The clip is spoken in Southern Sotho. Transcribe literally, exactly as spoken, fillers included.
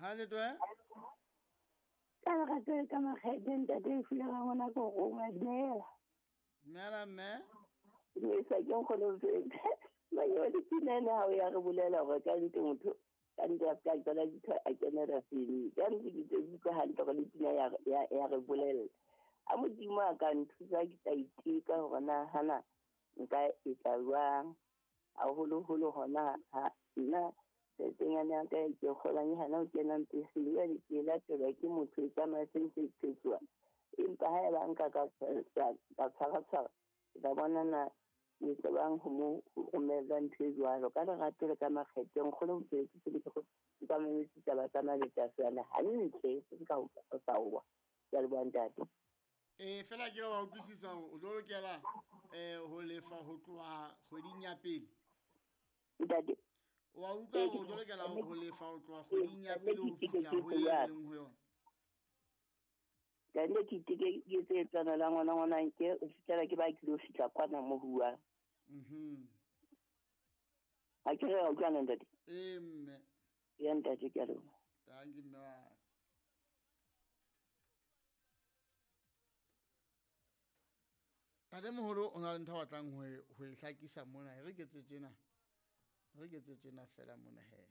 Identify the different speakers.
Speaker 1: Ha le twe?
Speaker 2: Ka lerato le ka makgethe ntate e file ga ngwana ko roma dumela.
Speaker 1: Dumela mme.
Speaker 2: Dumedisa ke nkgono Mfetsa. Manye le pina ena ha o ya re bolela hore ka nnete motho ka nnete a ska qala ditho a kenela sele. Ka nnete ke tse utlwa hantle hore le pina ya ya ya re bolella. A Modimo a ka nthusa ke tla iteka hore na hana nka etsa jwang. Haholoholo hona ha nna tjheletenyana ya ka e ke kgolang e hana ho kena mpeseng jwale ke e latelwa ke motho e tsamaya se ntse e qetsuwa. Empa haeba nka ka ka tshwara tshwara ke tla bona na ke tsebang ho mo romella ntho e jwalo. Ka lerato le ka makgethe nkgono Mfetsa se ke ka mametse taba tsa Malekase ana hantle se ka ho sa wa. Ke a leboha ntate.
Speaker 1: Eh fela ke wa utlwisisa hore o tlo lokela eh ho lefa ho tloha kgweding ya pele.
Speaker 2: Ntate.
Speaker 1: Wa utlwa hore o tlo lokela ho lefa ho tloha kgweding ya pele ho fihla ho e leng ho yona.
Speaker 2: Ka nne ke iteke ke etse tsana la ngwana ngwana nke o fihlela ke ba ke lo fihla kwana mo huwa.
Speaker 1: Mhm.
Speaker 2: Ha ke re wa utlwana ntate?
Speaker 1: Eh mme.
Speaker 2: Ya ntate ke a leboha.
Speaker 1: Thank you mme. Ntate moholo o na le ntho a batlang ho e ho e hlakisa mona. Re ke tse tjena. Re ke tse tjena fela mona he.